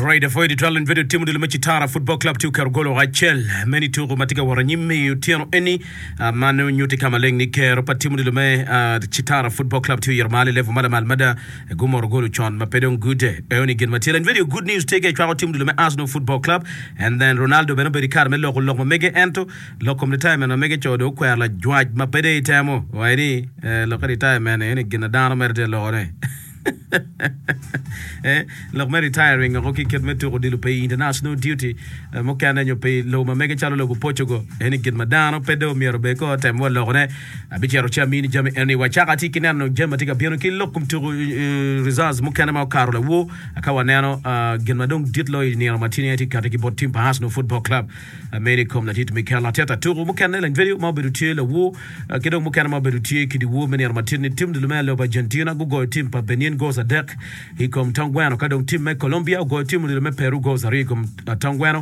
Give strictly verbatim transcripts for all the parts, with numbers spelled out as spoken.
Right, apwoyo ditwal in bedo timo dilo me Citara Football Club tye oketo gol acel me nituko ma tye ka wot anyim i otyeno eni uh, ma nongo nyutti ka maleng ni kero pa timo dilo me uh, Citara Football Club tye oyito malo i level ma lamal mada gumoro gol con ma pe dong gude eoni gin ma tye lany video good news tye ka ecwako timo dilo me Arsenal Football Club and then Ronaldo bene obedo i kare me loko lok ma mege ento lok kom retirement ma mege co dong okwero lajwac ma pe dong itemo waci ni eh, lokke retirement eni gin na dano mere tye ka lokone Eh, lok me retiring oko ki kit me tuko odilo pi international duty eh, mukene nyo pi lobo ma mege calo lobo Portugal eni gin ma dano pe dong myero bed ko tem wa lokone abicito ci amini jami eni wacako atye ki neno jami ma tye ka bino ki lok kom tuko eh, results mukene ma okato lawor ka waneno ah, gin ma dong dit loyo i nino ma tye ni tye kati ki bot team pa Arsenal Football Club ah, meno i kom ladit Mikel Arteta tuko mukene lany video ma obedo tye lawor ah, ki dong mukene ma obedo tye ki dyewor me nino ma tye ni tim dilo me lobo Argentina gugoyo tim pa Benin goals adek i kom tong gweno ka dong tim me Colombia ogoyo tim odilo me Peru goals aryo i kom uh, tong gweno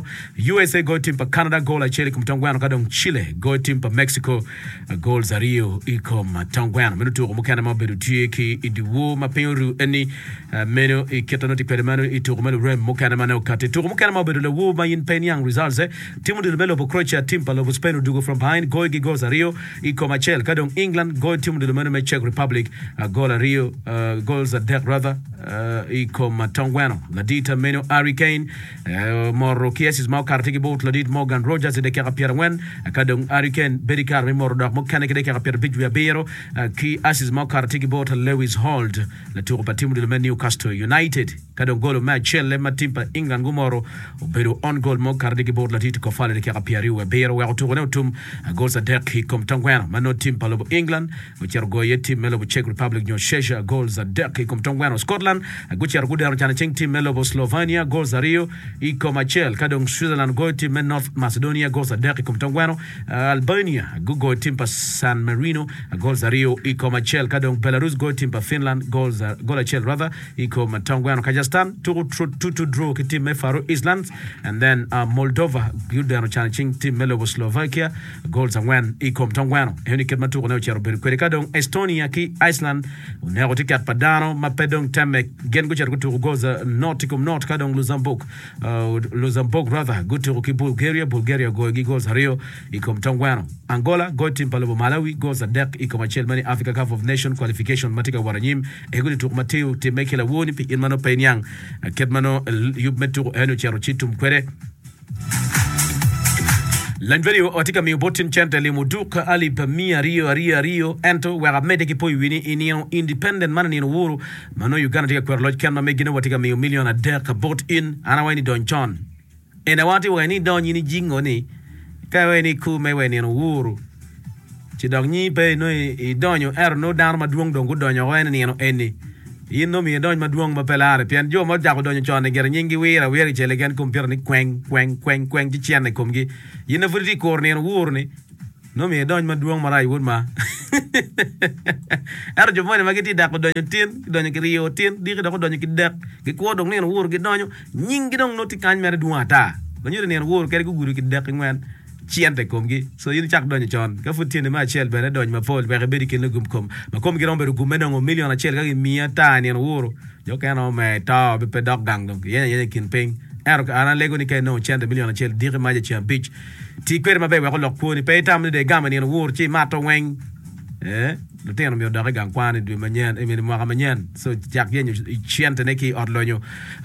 USA goyo tim pa Canada goal acel i kom tong gweno ka dong Chile goyo tim pa Mexico uh, goals aryo i kom uh, tong gweno meno tuko mukene ma obedo tye ki i dyewor ma piny oru eni uh, meno i kite nongo tye kwede meno i tuko me lurem mukene ma ne okati tuko mukene ma obedo lawor ma in pe niang results eh tim odilo me lobo Croatia tim pa lobo Spain odugo from behind goyo gi goals aryo i kom acel ka dong England goyo tim odilo meno me Czech Republic uh, goal aryo uh, goals adek rather uh, i kom uh, tong gweno ladit meno Harry Kane uh, moro ki assists ma okato tye ki bot ladit Morgan Rogers i dakika pyerangwen ka dong Harry Kane bedo i kare me moro dok mukene ki dakika pyerabic wiye abiro uh, ki assists ma okato tye ki bot Lewis Hall latuko pa tim odilo me Newcastle United ka dong golo me acel ma tim pa England gumoro obedo own goal ma okato tye ki bot ladit Kofal i dakika pyeraryo wiye abiro weko tukone otum uh, goals adek i kom tong gweno ma nongo tim pa lobo England ocito goyo iye tim me lobo Czech Republic nyo Czechia goals adek i kom tong gweno Scotland uh, gucito gudeno cano cing tim me lobo Slovenia goals aryo i kom acel ka dong Switzerland goyo tim me North Macedonia goals adek i kom tong gweno uh, Albania gugoyo tim pa San Marino uh, goals aryo i kom acel ka dong Belarus goyo tim pa Finland goals uh, goal acel rather i kom tong gweno Kazakhstan tuko two two draw ki tim me Faroe Islands and then uh, Moldova gudeno cano cing tim me lobo Slovakia goals angwen i kom tong gweno eni kit ma tukone ocito bedo kwede ka dong Estonia ki Iceland oneko tiket pa dano ma pe dong temme gin gucito gutuko goals uh, not i kom not ka dong Luxembourg uh, Luxembourg rather gutuko ki Bulgaria Bulgaria goyo gi goals aryo i kom tong gweno Angola goyo tim pa lobo Malawi goals adek i kom acel mani Africa Cup of Nation qualification ma tye ka wot anyim ego ni tuko ma tye timme ki lawoni pi in ma nongo pe iniang kit ma nongo yub me tuko eni ocito ci tum kwede Lany video watye ka miyo bot tin cente limo duk alip miya aryo aryo aryo ento wek amedde ki poyo wi ni i nino independent man i nino wuru ma nongo Uganda tye ka kwero loc ken ma megine watye ka miyo milion adek bot in an awaci ni dony con en awaci wa ni dony in ijingo ni ka iwaci ni ikume wa i nino wuru ci dok nyi pe nongo idonyo ento nongo dano madwong dong gudonyo oko en i nino eni in nongo myero idony madwong ma pe lare pien jo ma ocako donyo con-ni gire nyinggi wiro awira kicel keken kompiuta ni kweng kweng kweng kweng ci cene i komgi in na pud itye ka kuro nino wuru ni nongo myero idony madwong marac wod ma ento jo moni ma gitye dako donyo tin gidonyo ki ryo tin diki dok odonyo ki dek gikwo dong nino wuru gidonyo nyinggi dong nongo tye kany mere dwong ata ma nyuto nino wuru kadi gugudo ki dek ki ngwen cente i komgi so in icak donyo con ka pud tyeni me acel bene dony mapol wek ibed i kin lugum kom ma komgi romo bedo gum me nongo milion acel ka gimiyi ata i nino wuru jo okene romo me to pe dok gang dong giyenyo ayenya i kin piny ento an alego ni ka inongo cente milion acel diki maca ceng abic ti kwede maber wek olok kwoni pe itam ni dong igamo i nino wuru ci imato weng eh lutino myero odok i gang kwan i dwe manyen i mwaka manyen so cak yenyo centene ki i ot lonyo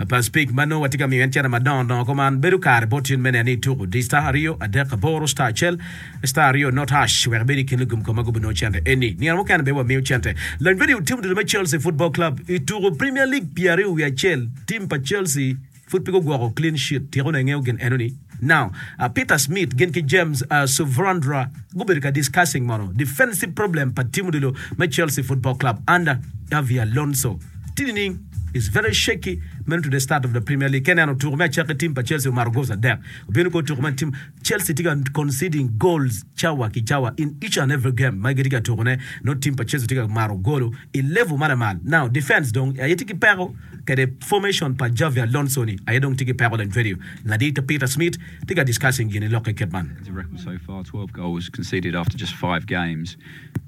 pa Speke ma nongo watye ka miyo en cente madongo dongo kuman bedo kare bot in me neno ni ituko di star aryo adek aboro star acel star aryo not hash wek ibed i kin lugum kom ma gubinongo cente eni nino mukene bene wamiyo cente lony radio tim odilo me Chelsea Football Club ituko Premier League pyeraryo wiye acel tim pa Chelsea pud pe gugwoko clean sheet tyeko ne ngeyo gin enoni now uh, Peter Smith gin ki James uh, Suvrandra gubedo ka discussing mono defensive problem pa tim odilo me Chelsea Football Club under Xabi Alonso tini is very shaky meno to the start of the Premier League keneno tuko me acaki tim pa Chelsea omaro goals adek obino ko tuko man tim Chelsea tye ka conceding goals cawa ki cawa in each and every game ma gitye ka tukone no tim pa Chelsea tye ka maro golo i level ma lamal now defense dong aye tye ki peko kede formation pa Xabi Alonso ni aye dong tye ki peko lany video ladit Peter Smith tye ka discussing gini lokke kit man It's a record so far, twelve goals conceded after just five games.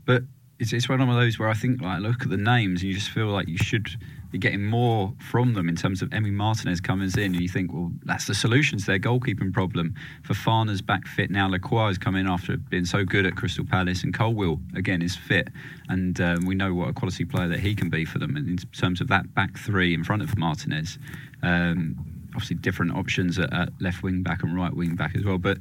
But it's, it's one of those where I think, like, look at the names and you just feel like you should You're getting more from them in terms of Emi Martinez comes in, and you think, well, that's the solution to their goalkeeping problem. Fofana's back fit now. Lacroix has come in after being so good at Crystal Palace, and Colwill, again, is fit. And um, we know what a quality player that he can be for them in terms of that back three in front of Martinez. Um, obviously, different options at, at left wing back and right wing back as well, but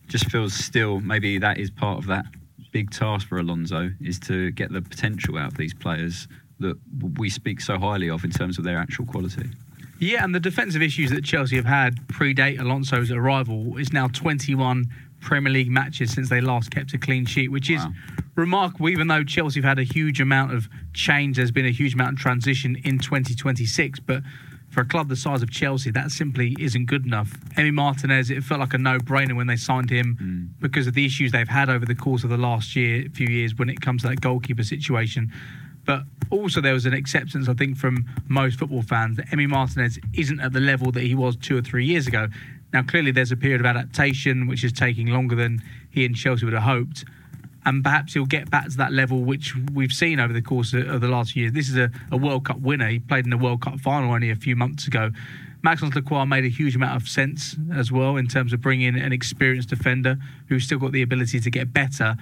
just feels still maybe that is part of that big task for Alonso, is to get the potential out of these players that we speak so highly of in terms of their actual quality. Yeah, and the defensive issues that Chelsea have had predate Alonso's arrival. It's now twenty-one Premier League matches since they last kept a clean sheet, which is Wow. remarkable, even though Chelsea have had a huge amount of change. There's been a huge amount of transition in twenty twenty-six, but for a club the size of Chelsea, that simply isn't good enough. Emi Martinez, it felt like a no-brainer when they signed him Mm. because of the issues they've had over the course of the last year, few years when it comes to that goalkeeper situation. But also there was an acceptance, I think, from most football fans that Emi Martinez isn't at the level that he was two or three years ago. Now, clearly there's a period of adaptation, which is taking longer than he and Chelsea would have hoped. And perhaps he'll get back to that level, which we've seen over the course of, of the last year. This is a, a World Cup winner. He played in the World Cup final only a few months ago. Maxence Lacroix made a huge amount of sense as well in terms of bringing in an experienced defender who's still got the ability to get better.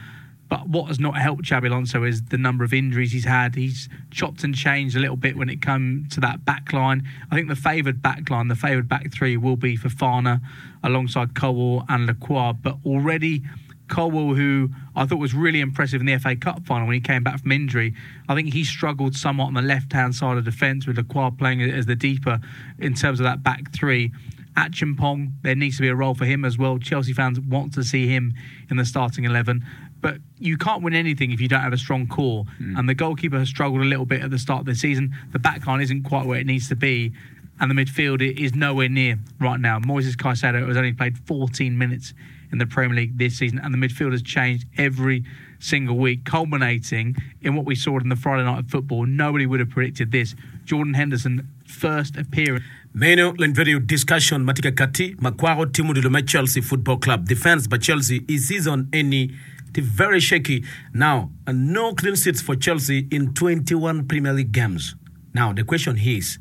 But what has not helped Xabi Alonso is the number of injuries he's had. He's chopped and changed a little bit when it comes to that back line. I think the favoured back line, the favoured back three will be Fofana alongside Colwill and Lacroix. But already Colwill, who I thought was really impressive in the F A Cup final when he came back from injury, I think he struggled somewhat on the left-hand side of defence with Lacroix playing as the deeper in terms of that back three. Acheampong, there needs to be a role for him as well. Chelsea fans want to see him in the starting eleven. But you can't win anything if you don't have a strong core. Mm. And the goalkeeper has struggled a little bit at the start of the season. The back line isn't quite where it needs to be. And the midfield is nowhere near right now. Moises Caicedo has only played fourteen minutes in the Premier League this season, and the midfield has changed every single week, culminating in what we saw in the Friday night of football. Nobody would have predicted this. Jordan Henderson, first appearance. Meno len video discussion matika kati makwako timu dilo me Chelsea Football Club. Defense by Chelsea is season any very shaky. Now, no clean sheets for Chelsea in twenty-one Premier League games. Now, the question is,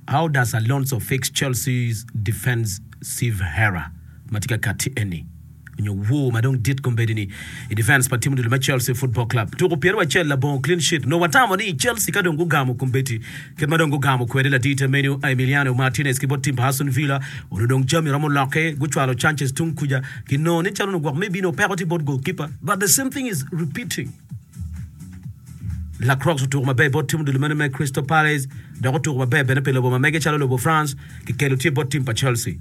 how does Alonso fix Chelsea's defensive error? Matika kati any. Nyo wo ma dong dit kombedini i defense pa timu dilo me Chelsea Football Club. Tuko piero acel labongo clean sheet. No watamo ni Chelsea ka dong gugamo kombeti. Ket ma dong gugamo kwede la dita menu Emiliano Martinez ki bot tim pa Aston Villa. Ono dong jami romo loke guchwalo Sanchez tung kuja. Ki no ni chalo no gwak maybe no peko ti bot goalkeeper. But the same thing is repeating. Lacroix otuko maber bot tim dilo meno me Crystal Palace. Dok otuko maber bene pe lobo ma mege chalo lobo France. Ki kelo tye bot tim pa Chelsea.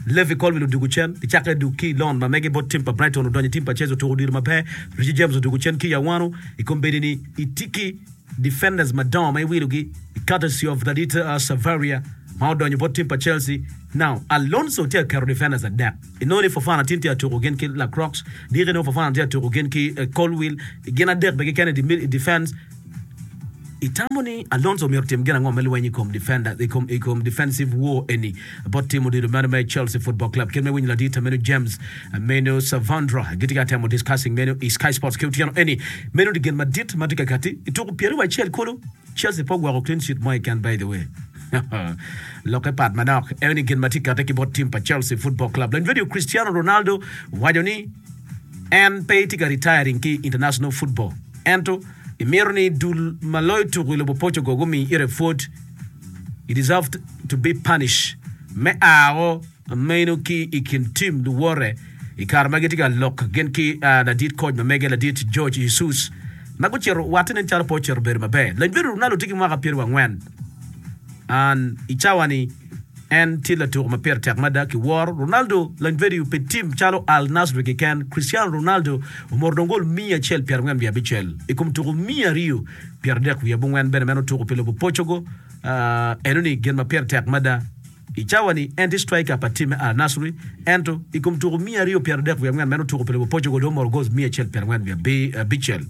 Levi Colwill odugo cen, gicake dug ki i loan ma mege bot tim pa Brighton odonyo i tim pa Chelsea otuko odiro maber. Reece James odugo cen ki i awano i kombeddi ni itiki defenders madongo ma iwilogi courtesy of Radita uh, Savaria ma odonyo bot tim pa Chelsea. Now Alonso tye ka keto defenders adek. Inongo ni Fofana tin tye atuko gin ki Lacroix, diki nongo Fofana tye atuko gin ki, uh, Colwill, gin adek be kikene i defense. Itamo ni Alonso myero tim gin ango me lweny i kom defender, i kom, i kom defensive war eni bot tim odilo meno me Chelsea Football Club. Kit me winyo ladita meno James meno Savandra gitye ka temo discussing meno i Sky Sports ki otyeno eni meno di gin madit ma tye ka kati i tuko pyeraryo acel kulu Chelsea pe ogwoko clean sheet mo keken by the way. Loke pat manok eni gin ma tye kati ki bot tim pa Chelsea Football Club. Lany video Cristiano Ronaldo waco ni en pe tye ka retiring ki international football. Ento imito ni dul ma loyo tuko i lobo Portugal gumi ire pwod, he deserved to be punished. Me ao meno ki i kin tim luwore i kare ma gitye ka lok gin ki, uh, ladit coach ma mege ladit Jorge Jesus ma gucito watte nen calo pe ocito bedo maber. Lany bedo Ronaldo tye ki mwaka pyeraryo angwen. An i cawa ni en tye latuko ma pire tek mada ki woro. Ronaldo lany bedo pe tim calo Al Nassr keken. Cristiano Ronaldo omoro dong gol mia acel pyerangwen wiye abicel i kom tuko mia aryo pyeradek wiye abongwen bene meno tuko pi lobo Portugal. Uh, eno ni gin ma pire tek mada. I cawa ni en tye striker pa tim me Al Nassr, ento i kom tuko mia aryo pyeradek wiye abongwen meno tuko pi lobo Portugal dong omoro goals mia acel pyerangwen wiye abi-, abicel.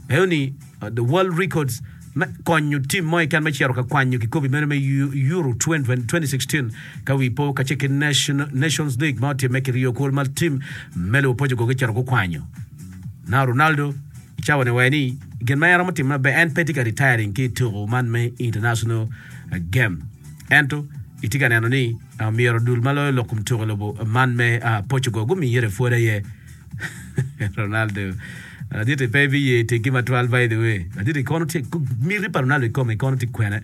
Eno ni, uh, the world records me konyo tim mo keken me cito ka kwanyo kikopi meno me Euro twenty sixteen ka wi po ka ce ki Nation, Nations League ma otimme ki Rio kul ma tim me lobo Portugal gicito gukwanyo. Now Ronaldo I cawa-ni waye ni gin ma en romo timo maber en pe tye ka retiring ki i tuko man me international game ento itye ka neno ni myero dul ma loyo lok kom tuko i lobo man me Portugal gumi ite pwod aye. Ronaldo ladit-ti pe biye tegi matwal by the way ladit-ti kono tye miti pa Ronaldo i kome kono tye kwene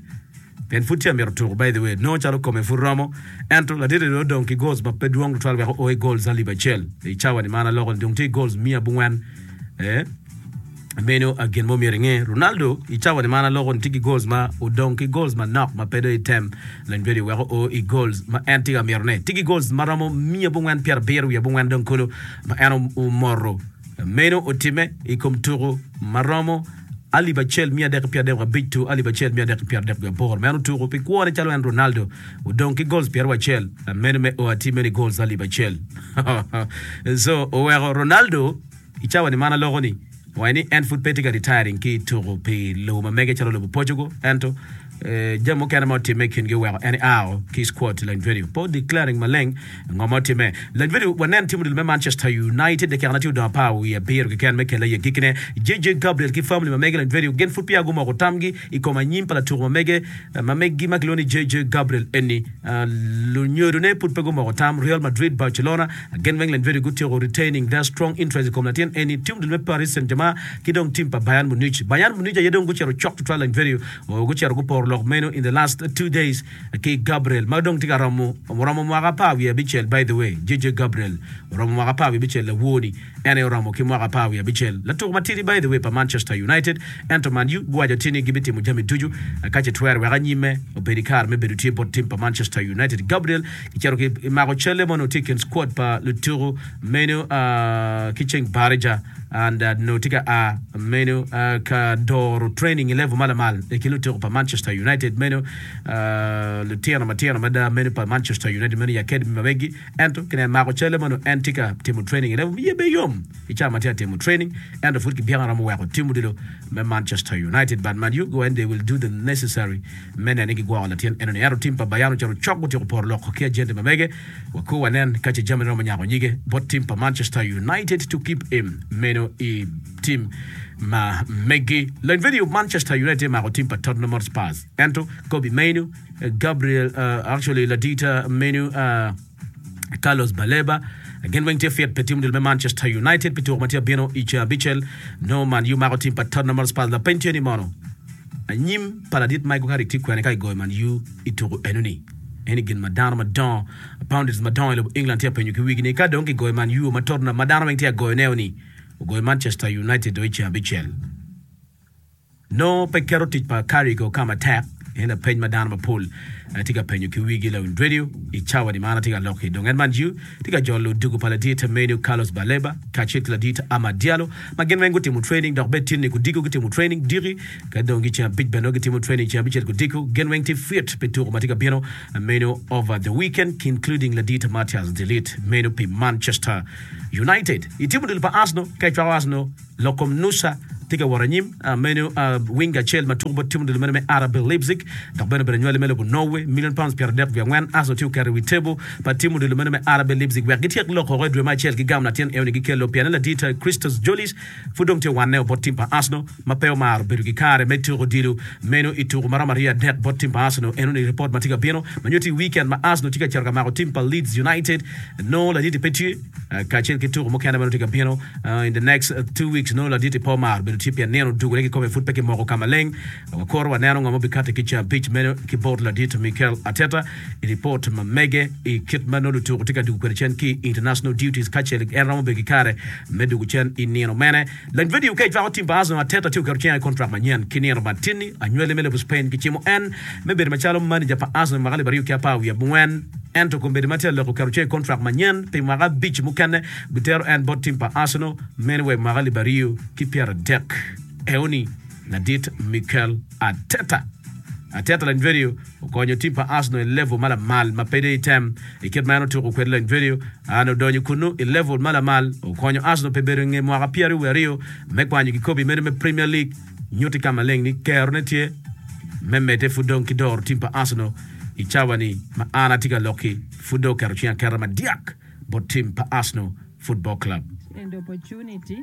pien pud tye amito tuko by the way nongo calo kome pud romo ento ladit-ti dong odong ki goals ma pe dwong tutwal wek o i goals alip acel i cawa ni man aloko ni dong tye i goals miya abongwen eh Meno gin ma omyero inge. Ronaldo i cawa ni man aloko ni tye ki goals ma odong ki goals manok ma pe dong item lony bedo wek oo i goals ma en tye ka mito ne. Tye ki goals ma romo miya abongwen pyera abiro wiye abongwen dong kulu ma en omoto. Meno otime i kom tuku ma romo alip acel miya adek ki pyera adek abic to alip acel miya adek ki pyera adek wiye aboro ma en otuku pi kwone calo en Ronaldo odong ki goals pyeraryo acel meno me o atir meno i goals alip acel. So oweko Ronaldo I cawa ni man aloko ni, owaco ni en pud pe tye ka retiring ki i tuko pi lobo ma mege calo lobo Portugal ento jami mukene ma otimme i kingi oweko en eao ki squad lany vedio pe o declaring maleng ngo ma otimme. Lany vedio wanen tim odilo me Manchester United dakika tye odong apar wiye abiro keken me kele i agikkine. J J Gabriel ki family ma mege lany vedio gin pud peya gumoko tamgi i kom anyim pa latuko ma mege ma meggi ma kilwongo ni J J Gabriel eni lunyodone pud pe gumoko tam. Real Madrid, Barcelona gin weng lany vedio gutyeko retaining their strong interest i kom latin eni. Tim odilo me Paris Saint-Germain ki dong tim pa Bayern Munich. Bayern Munich aye dong gucito cok tutwal lany vedio gucito guporo lok meno in the last two days ki Gabriel ma dong tye ka romo oromo mwaka apar wiye abicel by the way J J Gabriel oromo mwaka apar wiye abicel lawor-ni en aye oromo ki mwaka apar wiye abicel latuko matidi by the way pa Manchester United ento Man U guwaco tye ni gibitimo jami ducu ka ce twero wek anyimme obed i kare me bedo tye bot tim pa Manchester United. Gabriel kicito ki mako calle ma onongo tye i kin squad pa lutuku meno ki ceng Barija and onongo tye ka a meno ka doro training i level ma lamal i kin lutuku pa Manchester United meno lutino matino mada meno pa Manchester United meno i academy ma megi ento kinen mako calle ma onongo en tye ka timo training i level iye be yom i cawa ma tye ka timo training ento pud kibyeko romo weko tim odilo me Manchester United but Man U go and they will do the necessary me neno ni gigwoko latin enoni ento tim pa Bayern ocito cok gutyeko poro lok ki agente ma mege wakur wanen ka ce jami romo nyako nyige bot tim pa Manchester United to keep him meno i tim ma megi. Lony video Manchester United mako tim pa Tottenham Hotspur ento Kobbie Mainoo Gabriel uh, actually ladita meno uh, Carlos Baleba gin weng tye fit pi tim odilo me Manchester United pi tuko ma tye abino i ceng abicel nongo Man U mako tim pa Tottenham Hotspur lapeny tye ni mono anyim pa ladit Michael Carrick tye kwene ka igoyo Man U i tuko enoni eni gin ma dano madongo pundits madongo i lobo England tye apenyo ki wigi ni ka dong kigoyo Man U ma Tottenham ma dano weng tye agoyo ni ogoyo Manchester United do i ceng abicel nongo pe keto tic pa Carrick o ka matek en lapeny ma dano mapol tye ka penyo ki wigi lawiny radio i cawa ni man atye ka lok-ki dong en Man U tye ka jolo odiko pa ladit menu Carlos Baleba kacel ki ladit Amad Diallo ma gin weng gutimo training dok bed tye ni kudiko gutimo training diki ka dong gi ceng abic bene gitimo training ceng abicel kudiko gin weng tye fit pi tuko ma tye ka bino menu over the weekend including ladit Matthias de Ligt menu pi Manchester United i timo odilo pa Arsenal ka icwako Arsenal lok kom Nusa tye ka wot anyim meno winger acel ma tuko bot tim odilo meno me R B Leipzig dok bene obedo anywali me lobo Norway million pounds pyera adek wiye angwen Arsenal tye oketo i wi table pa tim odilo meno me R B Leipzig wek gityek lok oko i dwe me acel ki gamo latin eno ni gikelo piene ladit Christos Tzolis pud dong tye wanne bot tim pa Arsenal ma pe omaro bedo ki kare me tuko odilo meno i tuko maromo aryo adek bot tim pa Arsenal eno ni report ma tye ka bino ma nyuto i weekend ma Arsenal tye ka cito ka mako tim pa Leeds United no ladit pe tye kacel ki tuko mukene meno tye ka bino in the next two weeks no ladit pe omaro bedo tye pien nino odugore kikome pud pe kimoko ka maleng wakoro waneno ngo ma obikati ki ceng abic meno ki bot ladit Mikel Arteta i report ma mege i kit ma nongo lutuko tye ka dugo kwede cen ki international duties kacel en romo bedo ki kare me dugo cen i nino mene lany video ka icwako tim pa Arsenal Arteta tye oketo cinge i contract manyen ki nino matin-ni anywali me lobo Spain kicimo en me bedo macalo manager pa Arsenal mwaka alip aryo ki apar wiye abongwen ento kombeddi ma tye aloko oketo cinge i contract manyen pi mwaka abic mukene bitero en bot tim pa Arsenal meno wa i mwaka alip aryo ki pyera adek eoni ladit Mikel Arteta Arteta lany video okonyo tim pa Arsenal i level ma lamal ma pe i tem i kit ma en otuko kwede lany video an odonyo kunu i level ma lamal okonyo Arsenal pe bedo i nge mwaka pyeraryo wiye aryo me kwanyo kikobi meno me Premier League nyuti ka maleng ni kerone tye me medde pud dong ki doro tim pa Arsenal i cawa ni ma an atye ka lok-ki pud dong oketo cinge aketa madyak bot tim pa Arsenal Football Club. And opportunity.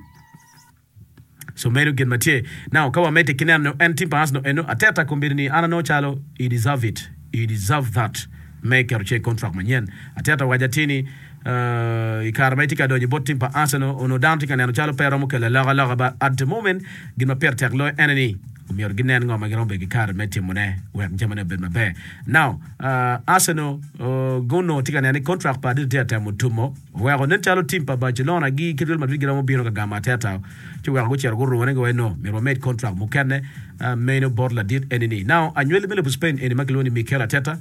So meno gin ma tye. Now ka wamedde ki neno en tim pa Arsenal eno, Arteta kombeddi ni an anongo calo he deserve it, he deserve that me keto ce i contract manyen. Arteta owaco atir ni uh, i kare ma etye ka donyo bot tim pa Arsenal onongo dano tye ka neno calo pe romo kelo alokaloka but at the moment gin ma pire tek loyo ene ni omyero ginen ngo ma giromo bedo ki kare me timone wek jamine obed maber. Now uh, Arsenal uh, gunongo tye ka neno ni contract pa Arteta tye ka temo tumo oweko nen calo tim pa Barcelona gi ki Real Madrid giromo bino ka gamo Arteta ci weko gucito gurune giwaco no myero wamed contract mukene uh, meno bot ladit eni ni. Now anywali me lobo Spain eni ma kilwongo ni Mikel Arteta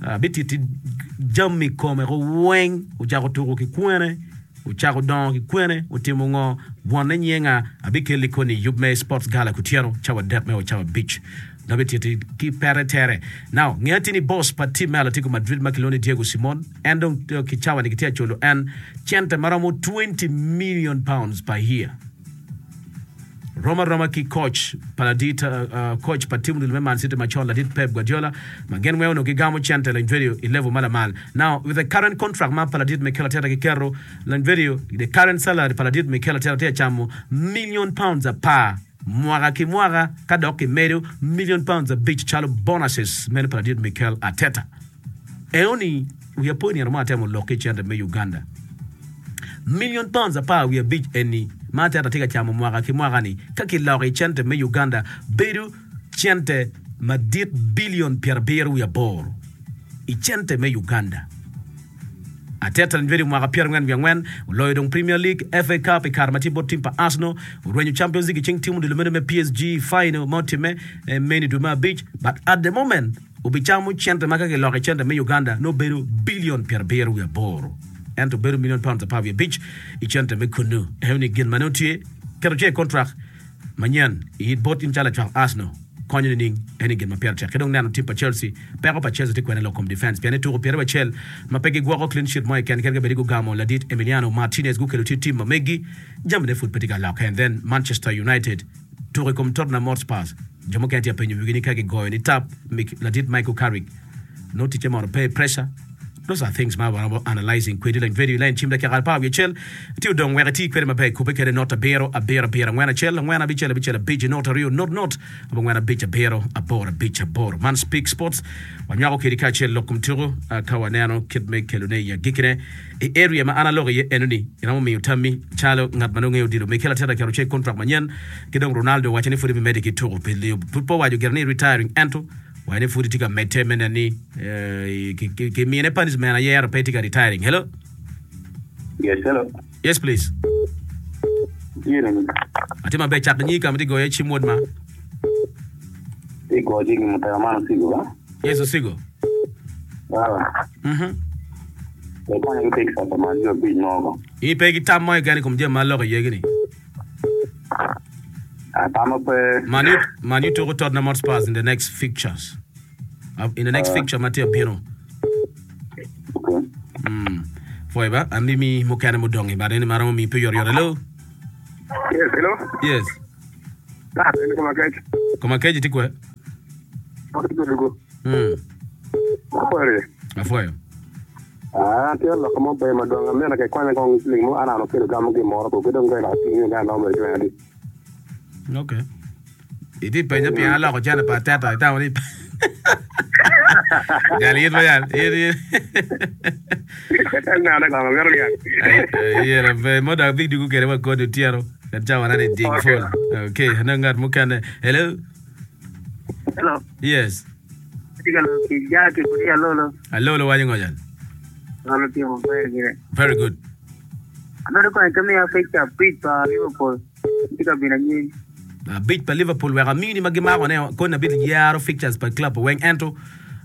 uh, bititi jami kome ko weng ocako tuko ki kwene ocako dongo ki kwene otimo ngo wonne nyenga abikeli koni yub me sports gala kutyeno cawa adek me o cawa abic nabititi ki pere tere. Now nge ati ni boss pa team me Atletico Madrid ma kilwongo ni Diego Simon en dong eh, ki cawa ni kitye aculo en cente maromo twenty million pounds per year Roma roma ki coach pa ladit uh, uh, coach pa team me Man City macon ladit Pep Guardiola ma gin weng onongo gigamo cente lany video i level ma lamal. Now with the current contract ma pa ladit Mikel Arteta giketo lany video the current salary pa ladit Mikel Arteta tye acamo million pounds apar mwaka ki mwaka ka dok kimedo million pounds abic calo bonuses meno pa ladit Mikel Arteta. Eoni wiya po nino mo atemo lok ki cente me Uganda. Million pounds apar wiye abic eni ma Arteta tye ka camo mwaka ki mwaka ni ka kiloko i cente me Uganda bedo cente madit billion pyerabiro wiye aboro i cente me Uganda. Arteta ni bedo mwaka pyerangwen wiye angwen oloyo dong Premier League, F A Cup i kare ma tye bot tim pa Arsenal, orwenyo Champions League i ceng tim odilo meno me P S G final ma otimme eh, meno i dwe me abic but at the moment obicamo cente ma ka kiloko i cente me Uganda nobedo billion pyerabiro wiye aboro ento bedo million pounds apar wiye abic i cente me kunu. Eno ni gin ma nongo tye keto ce contract manyen i bot in calo lacwak Arsenal konyo nining eni gin ma pire tek. Ki dong neno tim pa Chelsea, peko pa Chelsea tye kwene lok kom defense pien ituko pyeraryo acel ma pe gigwoko clean sheet mo keken kadi bed gugamo ladit Emiliano Martinez gukelo tye tim ma megi jamine pud pe tye ka lokke. And then Manchester United tuko i kom Tottenham Hotspur jo mukene tye apenyo wigi ni ka gigoyo ni tap ladit Michael Carrick no ticce mono pe pressure. Those are things ma waromo analyzing kwedi lany video line cim dakika apar wiye acel tye odong wek iti kwede maber kubbe kwede not abiro abiro abiro angwen acel angwen abicel abicel abic not aryo not not abongwen abic abiro aboro abic aboro. Man Speak Sports wanywako kedi kacel lok kom tuko uh, ka waneno kit me kelone i agikkine i area ma an aloko iye eno ni iromo miyo tammi calo ngat ma nongo ngeyo odilo Mikel Arteta keto ce contract manyen ki dong Ronaldo owaco ni pud ebimedde ki tuko pi liyo pud pe owaco gire ni retiring ento waco ni pud tye ka medde me neno ni eh, ki- ki- kimine punishment ayero pe tye ka retiring. Hello? Yes, hello. Yes please. Yini, Atye maber cak nyi ka ma tye goyo cim wod ma. igo jigi mutaka man osigo ba? Yes osigo. Ah, Mhm. e konyo gi pik sasa man jo abic mogo. In pe ki tam mo keken i kom jami ma aloko iye gini. Ah, tamo pe Man U Man U tuko Tottenham Hotspurs in the next fixtures. Uh, in the next fixture ma tye abino. Okay. Mm. Pwoy ba, amimi mukene mudong i bad eni ma romo miyi pe oyotoyot. Hello? Yes, hello. Yes. Ah, en koma kec. Koma kec itye kwe? Ok, good. Mm. Apwoyo. Apwoyo. Ah, tye lok mo ber madwong amito ke kwanya kong siling mo anano kelo gamo gimoro ko gidong ngela siling ni ano mo itwe adi. Okay. Iti penyo pien aloko cene pa Arteta itamo ni Jal in ma jal in in. Nana kong amito niang. Yera be mo dok big dugu kede wa kodi otyeno. Ket cawa na ni ding Okay. full. Okay, anong ngat mukene. Hello? Hello. Yes. Atye ka lok ki Jackie kodi Alolo. Alolo waco ngo jal? Alolo tye maber gire. Very good. Amito konyo ka miya fixture abic pa Liverpool. Tye ka bino anyim. Abic pa Liverpool wek amini ma gimako ne koni abit yaro fixtures pa club weng ento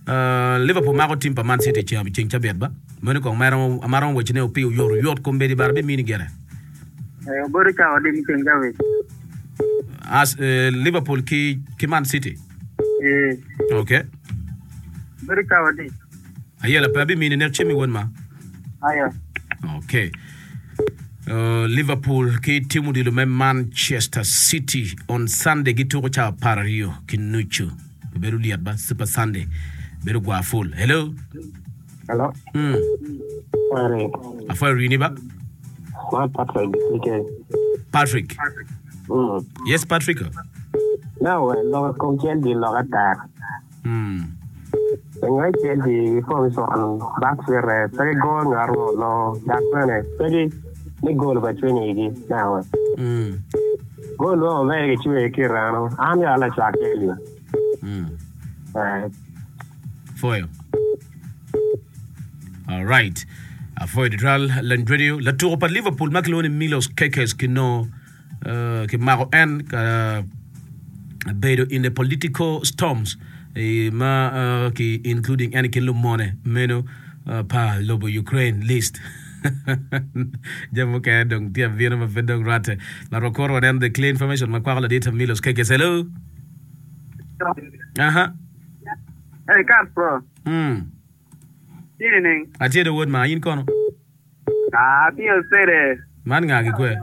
uh, Liverpool mako team pa Man City ceng ceng cabit ba. Meno kong maromo maromo weche ne opi oyot oyot kombeddi bara bimini gire. Eh, obedo cawa adi me ceng cabit? As uh, Liverpool ki ki Man City. Eh, Okay. obedo cawa adi? Ayela pe abimini nek cimi won ma. Ayo. Okay. Uh, Liverpool ki tim odilo me Manchester City on Sunday gituko cawa apar aryo ki nucu. Bedo liet ba Super Sunday. Bedo gwa full. Hello. Hello. Mm. Ore. Afwayo rini ba? Ma Patrick. Okay. Patrick. Mm. Yes, Patrick. Now, loko kom Chelsea loko atak. Mm. Ngai Chelsea formation back fere pe gol ngaro lo dak bene pe ni gol ba chwenyi gi. Now, Mm. gol lo me gi chwe ki rano. An ya la chak Chelsea. Mm. Eh, Foyo. All right. Afoyo ditral Land Radio. Latuko pa Liverpool ma kilwongo ni Milos Kerkez kino uh, kimako en ka bedo in the political storms eh, ma uh, ki including en kin lumone meno uh, pa lobo Ukraine list. Jami mukene dong tye abino ma pe dong rwatte. But wakoro waneno the clear information ma kwako ladit Milos Kerkez. Hello. Aha. Hey, Castro. Mm. Evening. Atye do wod ma in kono. Ah, tiyo sere. Man nga gi kwe.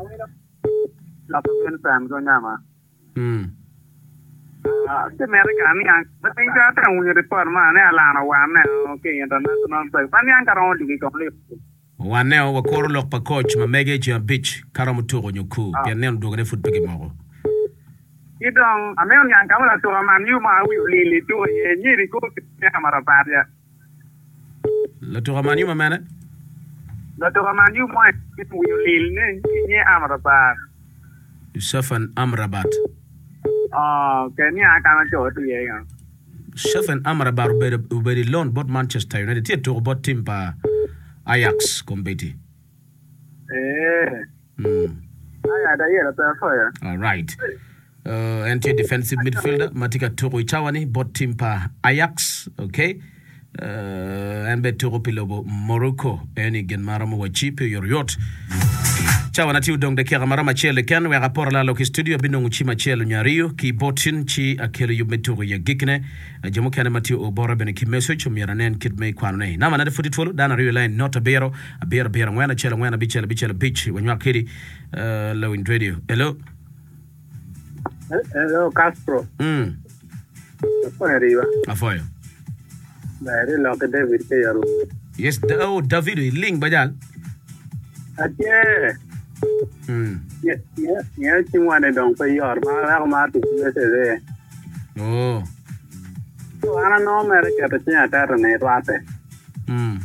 Loko Vincent ko nyama. Mm. Ah, ti mere ka ni ang. Batin ka ta un report ma ne alano wa ne okay international break. Pa ni ang karon di ko le. Waneo wakoro lok pa coach ma mege ci abic karomo tuko nyo ku pien neno dwogo ne pud pe gimoko. Idong ame on yang kamala to man yu ma wi li li tu ye nyiri ko ya mara pa ya. Latuko man yu ma mene? La to man yu mo wi li ne nye amara pa. Sofyan Amrabat. Ah, ke ni ang kana cho tu ye ya. Sofyan Amrabat obedo obedo i loan bot Manchester United tye tuko bot tim pa Ajax kombeddi. Eh. Mm. Aya da ye la ta fo ya. All right. Uh, en tye defensive midfielder ma tye ka tuko i cawa-ni bot tim pa Ajax. Okay. Uh, en bene tuko pi lobo Morocco. En i gin ma romo wacci pi oyotoyot. Cawa na tye odong dakika ma romo acel keken wek aporo lalo ki studio abinongo cim acel nyo aryo ki botin ci akelo yub me tuko i agikine. Jo mukene ma tye obora bene ki message omyero anen kit me kwanone. Namba nade pud itwolo dano aryo i line not abiro abiro abiro angwen acel angwen abicel abicel abic wanywak kedi uh, Lawiny Radio. Hello. Hello Castro. Mm. Ko riwa. Afoyo. Ba ri lo ke David ke yaru. Yes, da, oh, David ling bajal. Atie. Mm. Ye ye ye chi wane dong pe yor ma la ma ti message. Oh. So ana no mere ke to chinya tero ne rwate. Mm.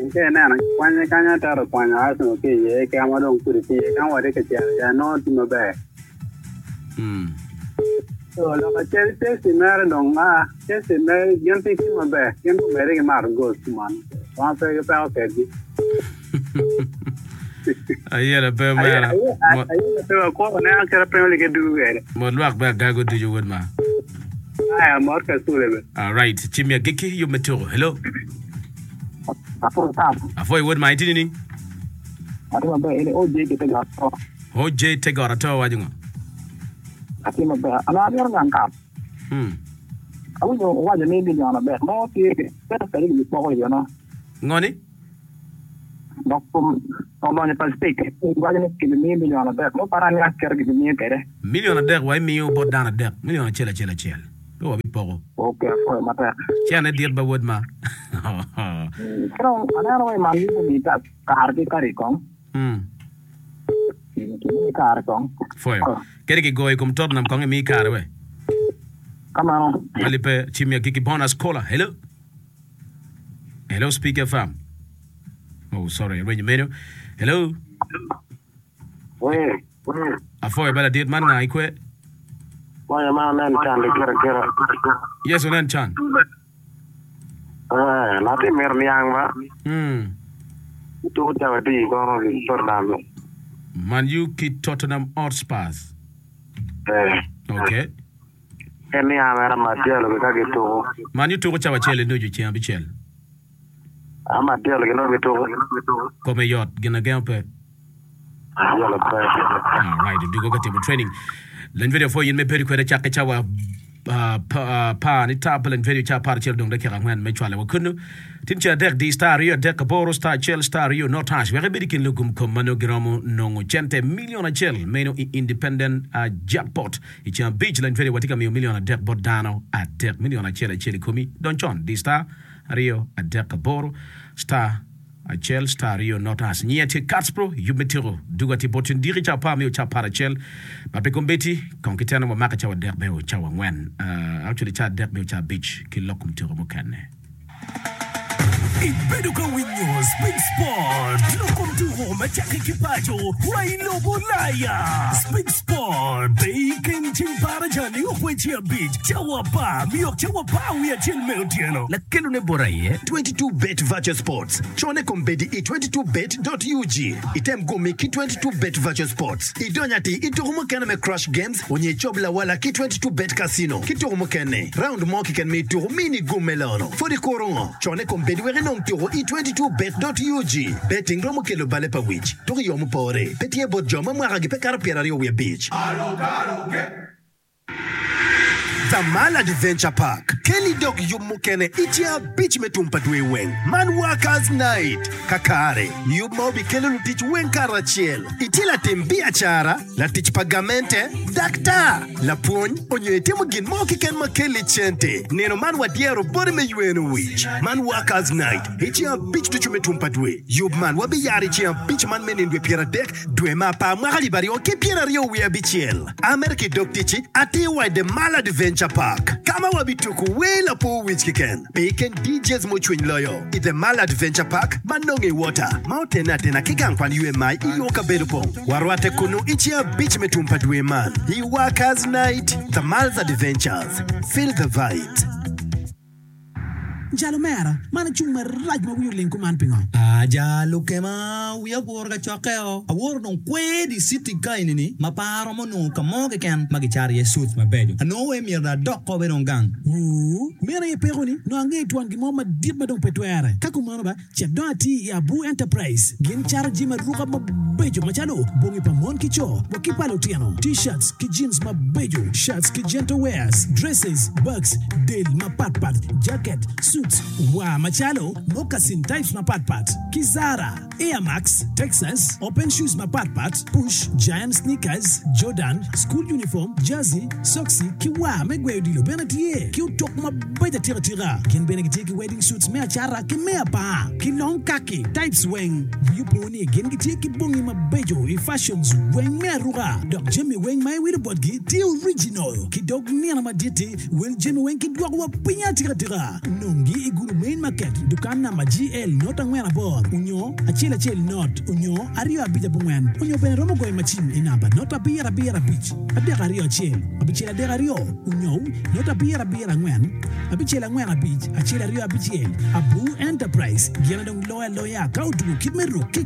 Nke neno kwanye kanya tero kwanya aso ke ye ke ama dong kuri ti ye kan wade ke chia ya no ti maber. Mm. So lo ka che che si mere dong a che si mere gen ti ki maber gen ku mere ke mar go man. Wa pe ke pa ke gi. Ayera pe mera. Aye pe ko ne an kera Premier League du gere. Mo lwak be gago duju wod ma. Aya mor ka sule be. All right, chimia giki yub me tuko. Hello. Apo tap. Afoy wod ma itini ni. Ati maber ene O J ke te gato. O J tegora to wajungo. Ati maber. Ana amiro ngang kap. Mm. Awinjo owacho ni million adek. Mo tye pesa kadi gi poko iyo no. Ngoni? Dok olonyo Pacific. Wacho ni gibimiyo million adek. Mo para ni aker gibimiyo kede. Million adek wa imiyo bot dano adek. Million acel acel acel. Pe wabipoko. Okay, afoyo matek. Cene dit ba wod ma. Koro aneno we man yubo mi ta kar ki kari kong. Mm. Kimi kar kong. Foyo. Kede ki goyo kom Tottenham kong imi kare we. Kamano. Malipe chimia giki bonus caller. Hello. Hello, Speaker F M. Oh, sorry. Renyo meno. Hello. We, we. Afoyo bala dit man nga ikwe. Waya ma nen chan di kira kira. Yes, onen chan. Eh, lati mer niang ba. Mm. Tu chawa ti kono ki Tottenham. Man U ki Tottenham Hotspurs. Eh. Okay. En ni amera Matielo ki ka gituko. Man U tuko cawa acel i nucu ceng abicel. A Matielo ki no gituko. Kome yot gin agengo pe. Yolo pe. All right, dugo ka timo training. Len video fo yin me bedo kwede cakke cawa uh, pa, uh, pa ni tap len video ca par acel dong dakika angwen me cwale wa kunu. Tin ce adek di star aryo adek aboro star acel star aryo not hash. Wek ibed i kin lugum kom ma nongo giromo nongo cente milion acel meno i independent uh, jackpot. I ceng abic len video watye ka miyo milion adek bot dano adek milion acel acel i komi. Don con di star aryo adek aboro star Acel star aryo not hash. Nyiya tye Katspro, yub me tyeko duga tye bot ndiki ca apar me ca apar acel. Ma pe kombeddi, kong ki teno wamake cawa adek me cawa angwen. Uh, actually ca adek me ca abic ki lok kom tyeko mukene. Ibedo ka winyo Spik Sport lok kom tuko ma cakke ki paco wa i lobo Ulaya. Spik Sport pe i ken ceng baraja nio kweci abic cawa apar miok cawa apar wiye acel me otyeno. Lakelone bot aye. twenty-two bet Virtual Sports. Cone kombeddi i twenty-two bet dot U G. Item gumi ki twenty-two bet Virtual Sports. Idony ati i tuko mukene me Crash Games onye icob lawala ki twenty-two bet Casino. Ki tuko mukene, round mo keken me ituko mini gum me lono. Pwod ikuro ngo? Cone kombeddi wek inong tuko i twenty-two bet dot U G. Betting romo kelo bale pa wic. Tuko i yo mupore. Pe tye bot jo ma mwaka gi pe kato pyeraryo wiye abic. The Mall Adventure Park. Keli dok yub mukene i ceng abic me tum pa dwe weng. Man Workers Night. Kakare, yub ma obikelo lutic weng karacel. Itye latim biacara, latic pa gamente, daktar, lapwony, onyo itimo gin mo keken ma keli cente. Nino man wadyero boti me yweno wic. Man Workers Night. I ceng abic ducu me tum pa dwe. Yub man wabiyaro i ceng abic man me nino dwe pyeradek, dwe me apar mwaka alip aryo ki pyeraryo wiye abicel. Amerka i dog ticci, atir wa i The Mall Adventure Park. Kama wabituko wel apo wic keken. Pe ken D Js mucwiny loyo. I The Mall Adventure Park, ma nongo i water. Ma otene atena ki gang kwan U M I i yo kabedo pong. Warwate kunu i ceng abic me tum pa dwe man. I Workers Night, The Mall's Adventures. Feel the vibes. Jalo mera, man acung marac ma wiyo oling kuman pingo? Ah, jalo kema, wiya woro ka cokkeo. Aworo dong kwedi city ka inini, ma paro mo nongo ka mo keken ma gicaro iye suits mabeco. Anongo we myero adok ko be dong gang. Ooh, meno aye peko ni, nongo angeyo twon gin mo madit ma dong pe twere. Ka kumano ba, cet dong ati i Abu Enterprise. Gin caro jami aruka mabeco macalo bongi pa mon ki co, wa ki pa lutino, t-shirts ki jeans mabeco, shirts ki gentle wears, dresses, bags, del mapatpat, jacket, suits, wa macalo moccasin types mapatpat, ki Zara, Air Max, Texas, open shoes mapatpat, push, giant sneakers, Jordan, school uniform, jersey, soksi, ki wa me gweyo odilo bene tye, ki otok mabeco atika tika. Gin bene gitye ki wedding suits me acara ki me apar, ki long khaki types weng. Wiyi opo ni gin gitye ki bongi mabeco i fashions weng me aruka, dok jami weng ma iwilo botgi tye original. Ki dog nino madit-ti, wel jami weng ki dwoko wa piny atika tika. Nongi i Gulu Main Market, dukan namba G L not angwen aboro, onyo acel acel not, onyo aryo abic abongwen, onyo bene romo goyo macin i namba not abiro abiro abic, adek aryo acel, abicel adek aryo, onyo not abiro abiro angwen, abicel angwen abic, acel aryo abicel. Abu Enterprise, gin dong loyo aloya ka otugo kit me ruk ki